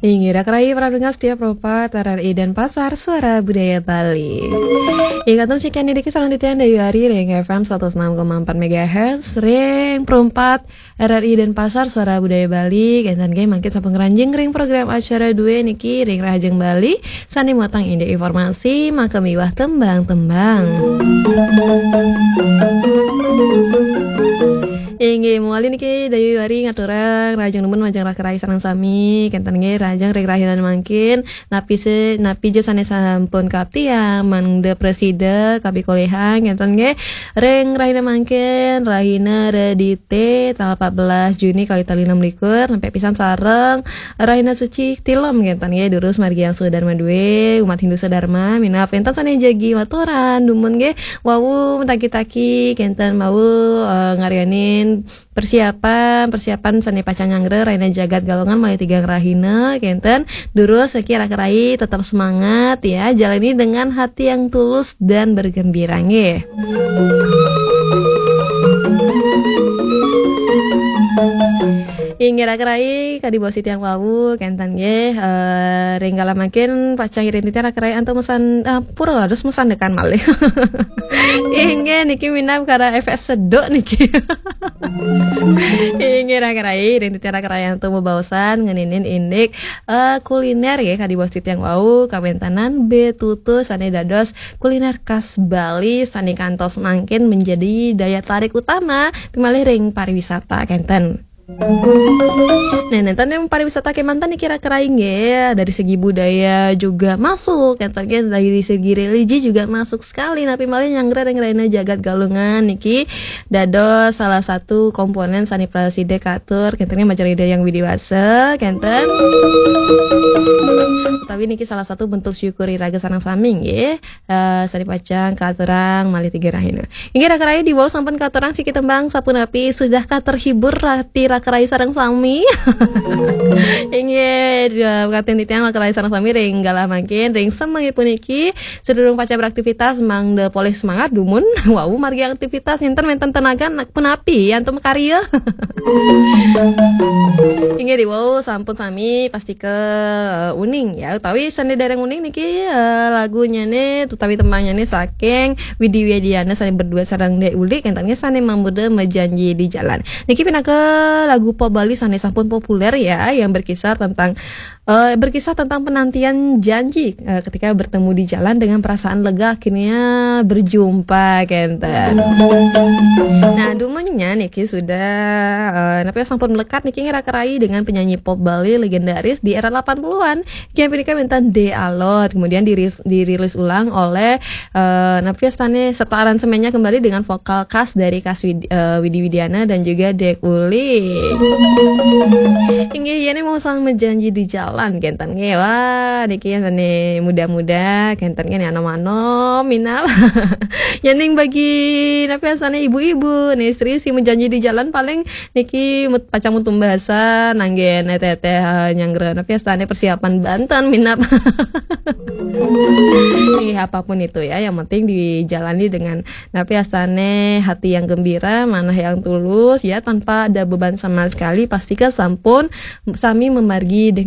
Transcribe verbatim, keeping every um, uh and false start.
Inggih, raka rai para pendengar setia Pro empat R R I Denpasar, Suara Budaya Bali. Inggih, kantun sekian niki salanjutnya Dayu Ari ring F M seratus enam koma empat megahertz, ring Pro empat R R I Denpasar, Suara Budaya Bali. Kenten nggih mangkin sampun ngranjing ring program acara due niki ring Rahajeng Bali, sane muatang indik informasi, maka miwah tembang-tembang. Inggih, mawali niki Dayu Ari ngaturang rahajeng nunas majeng raka rai sareng sami. Kenten nggih rahajeng ring rahina mangkin, napi se-, napi ja sane sampun kaptiang, mangda prasida kapikolehan, kenten nggih ring rahina mangkin, rahina Redite, tanggal empat belas Juni kali tali enam likur, nampek pisan sareng rahina suci Tilem, kenten nggih durus margi angsuh Dharma due, umat Hindu sedharma, minab wenten sane jagi maturan, dumun nggih, wau mataki-taki, kenten wau, eh, ngaryanin persiapan, persiapan sane pacang nyanggra rahina Jagat Galungan malih tigang rahina, kenten. Durus niki raka rai tetap semangat ya, jalani dengan hati yang tulus dan bergembira nggih. Inggih raka rai, kadi bos titiang wau, kenten nggih, eh, ring galah mangkin pacang iring titiang raka rai antuk mesan, eh, pura harus mesan dekan malih. Inggih niki minab kara efek seduk niki. Inggih raka rai, ring titiang raka rai antuk bebaosan ngeninin indik, eh, kuliner nggih, kadi bos titiang wau, kawentanan betutu sane dados kuliner khas Bali sane kantos mangkin menjadi daya tarik utama pimalih ring pariwisata, kenten. Nah, nenten yang pariwisata kemanten niki raka rai nggih, dari segi budaya juga masuk, kenten nggih, dari segi religi juga masuk sekali. Napi malih nyanggra ring rahina Jagat Galungan niki dados salah satu komponen sane prasida katur, kenten nggih majeng Ida Hyang Widi Wasa, kenten. Utawi niki salah satu bentuk syukur iraga sareng sami nggih, eh, sane pacang katurang malih tiga rahina. Inggih raka rai, diwau sampun katurang siki tembang sapunapi sudah katerhibur rati raka rai sareng sami. Inggih, eh, kenten titiang raka rai sareng sami ring galah mangkin, ring semeng puniki, sedurung pacang beraktivitas, mangda polih semangat dumun, wau margi aktivitas, nenten wenten tenaga, nak punapi, antuk makarya. Inggih diwau sampun sami pastika, eh, uning ya, utawi sane dereng uning niki, eh, lagunyane utawi tembangnyane saking Widi Widiana sane berdua sareng Dek Uli, kenten nggih sane mamurda Majanji di Jalan. Niki pinaka lagu pop Bali sane sampun populer ya, yang berkisar tentang, eh, berkisah tentang penantian janji, eh, ketika bertemu di jalan dengan perasaan lega akhirnya berjumpa, kenten. Nah, dumunnya niki sudah, eh, napi sampun melekat niki raka rai dengan penyanyi pop Bali legendaris di era delapan puluhan. Yang punika wenten De Alot, kemudian diris-, dirilis ulang oleh, eh, napi wastane serta aransemennya kembali dengan vokal khas dari Kas Wid-, eh, Widi Widiana dan juga Dek Uli. Inggih, yen mau sang Majanji di Jalan, kenten nggih. Wah, niki sane muda-muda, kenten nggih, anom-anom, minab. Yen ning bagi napi wastane ibu-ibu, nih istri si Majanji di Jalan paling niki mut-, pacang mutumbasa nanggen eteh-eteh, eh, nyanggra napi wastane persiapan banten minab. Nih, apapun itu ya, yang penting dijalani dengan napi wastane hati yang gembira, manah yang tulus ya, tanpa ada beban sama sekali. Pastika sampun sami memargi